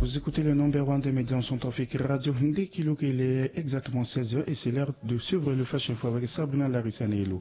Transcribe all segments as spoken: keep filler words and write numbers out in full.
Vous écoutez le number one des médias en centrafrique radio. Ndekilo, il est exactement seize heures et c'est l'heure de suivre le flash info avec Sabrina Larissa Nelo.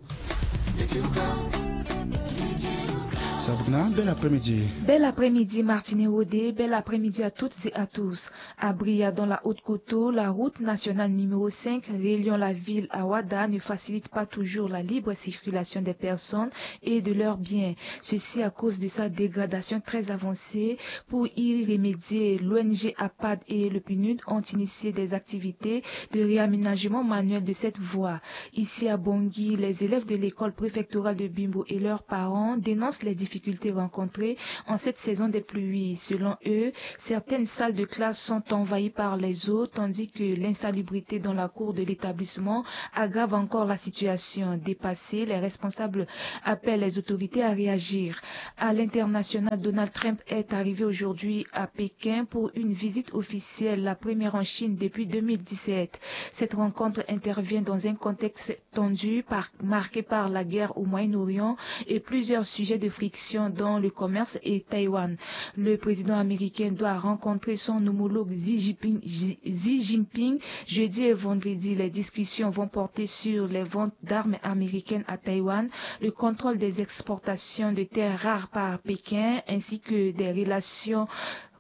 Sabrina, bel après-midi. Bel après-midi Martine Rodé, bel après-midi à toutes et à tous. Abria dans la Haute-Koto, la route nationale numéro cinq reliant la ville à Wada ne facilite pas toujours la libre circulation des personnes et de leurs biens. Ceci à cause de sa dégradation très avancée. Pour y remédier, l'ONG APAD et le PNUD ont initié des activités de réaménagement manuel de cette voie. Ici à Bongi, les élèves de l'école préfectorale de Bimbo et leurs parents dénoncent les difficultés rencontrées en cette saison des pluies. Selon eux, certaines salles de classe sont envahies par les eaux, tandis que l'insalubrité dans la cour de l'établissement aggrave encore la situation. Dépassés, les responsables appellent les autorités à réagir. À l'international, Donald Trump est arrivé aujourd'hui à Pékin pour une visite officielle, la première en Chine depuis deux mille dix-sept. Cette rencontre intervient dans un contexte tendu par, marqué par la guerre au Moyen-Orient et plusieurs sujets de friction dont le commerce et Taïwan. Le président américain doit rencontrer son homologue Xi Jinping, Xi, Xi Jinping jeudi et vendredi. Les discussions vont porter sur les ventes d'armes américaines à Taïwan, le contrôle des exportations de terres rares par Pékin, ainsi que des relations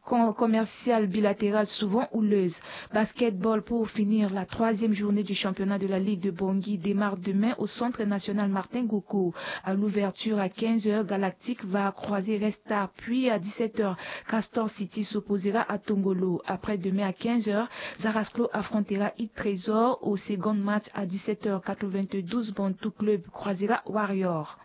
com- commerciales bilatérales souvent houleuses. Basketball pour finir, la troisième journée du championnat de la Ligue de Bongi démarre demain au Centre national Martin Goko. À l'ouverture à quinze heures, Galactique va croiser Red Star, puis à dix-sept heures, Castor City s'opposera à Tongolo. Après-demain à quinze heures, Zarasclo affrontera It Trésor au second match à dix-sept heures quatre-vingt-douze. Bantou Club croisera Warrior.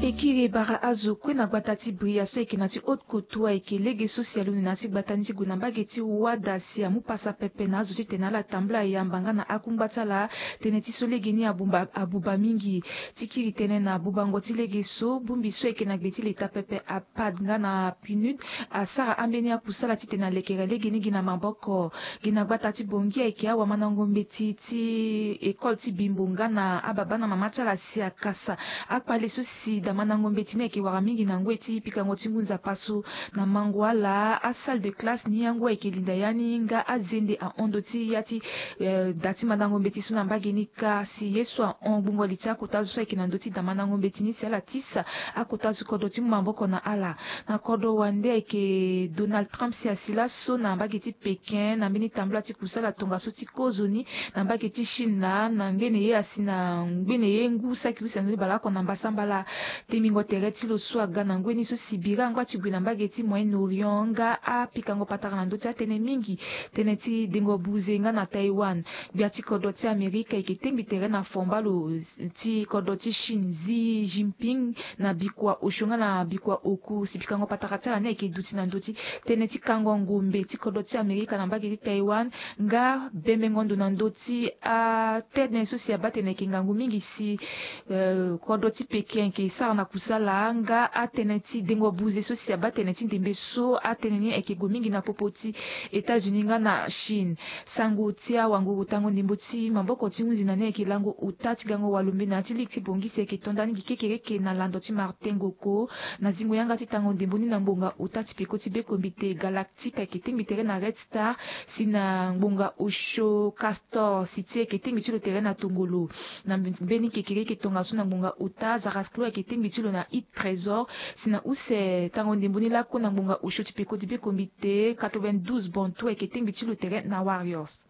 E kiri e bara azo kue na gbata ti Bria so ayeke na ti Haute-Koto, ayeke lege so si alondo na ya ti gbata ni ti gue na mbage ti Wada si amu pasa pepe na azo titene ala tambula yamba nga na akungba ti ala. Tënë ti so lege ni abuba, abuba mingi. Ti kiri tënë na bubango ti lege so, bongbi so ayeke na gbe ti leta pepe, APAD nga na PNUD, asara ambeni akusala titene alekere lege ni gi na maboko. Gi na gbata ti Bongi ayeke awamandango mbeti ti école ti Bimbo nga na ababa na mama ti ala si akasa akpale so si damandango mbeti ni ayeke wara mingi na ngoi ti pikango ti ngu nzapa so. Na mango ala, asalle de classe ni yango ayeke linda ya ni nga azende ahon ndö ti ya ti, eh, da ti mandango mbeti so na mbage ni kâ. Si ye so ahon gbungo li ti akota zo so ayeke na ndö ti damandango mbeti ni si ala tisa akota zo kodro ti mu maboko na ala. Na kodro wande ayeke Donald Trump si asi laso na mbage ti Pékin na mbeni tambula ti kusala tongaso ti kozoni na mbage ti Chine laa, na ngbene ye asi na ngbene ye ngu saki use na ni baleoko na mbasambala. Temingo tere ti lo so aga na ngoi ni so si bira angba ti gue na mbage ti Moyen-Orient nga apikango patara na ndö ti atënë mingi, tënë ti dengo buze nga na Taïwan. Gbia ti kodro ti Amerika ayeke tengbi tere na fomba lo ti kodro ti Chine Xi Jinping na bikua osio nga na bikua oku si pikango patara ti ala ni ayeke duti na ndö ti tënë ti kango ngombe ti kodro ti Amerika na mbage ti Taïwan nga bembengo ndo na ndö ti atënë so si abaa tene ayeke ngangu mingi si, eh, kodro ti Pékin ayeke sara na kusala nga atënë ti dengo buze so si abaa tene ti ndembe so atënë ni ayeke gue mingi na popo ti États-Unis nga na Chine. Sango ti awanguru tango ndembo ti maboko ti hunzi na ni ayeke lango ota ti gango walo mbi na ya ti ligi ti Bongi si ayeke to nda ni gi kekereke na lando ti Martin Goko. Na zingo yanga ti tango ndembo ni na ngbonga ota ti peko ti bekombite Galactique ayeke tengbi tere na Red Star, si na ngbonga osio Castor City ayeke tengbi ti lo tere na Tongolo. Na mbeni kekereke tongaso na ngbonga ota Zarasclo ayeke tengbi ti lo na It Trésor, si na use tango ndembo ni laku na ngbonga osio ti peko ti bekombite quatre-vingt-douze Bantou ayeke tengbi ti lo tere na Warriors.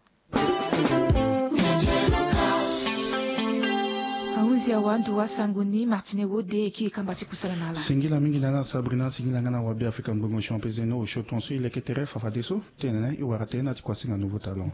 Ahunzi awa nduru asango ni Martine Wode e kiri kamba ti kusala na ala. Singila mingi na ala Sabrina, singila nga na wabe Afrika ngbongo champion zeno osio tongaso e leke tere fafadeso. Tene na e wara tënë na ti kuasinga Nouveau Talent.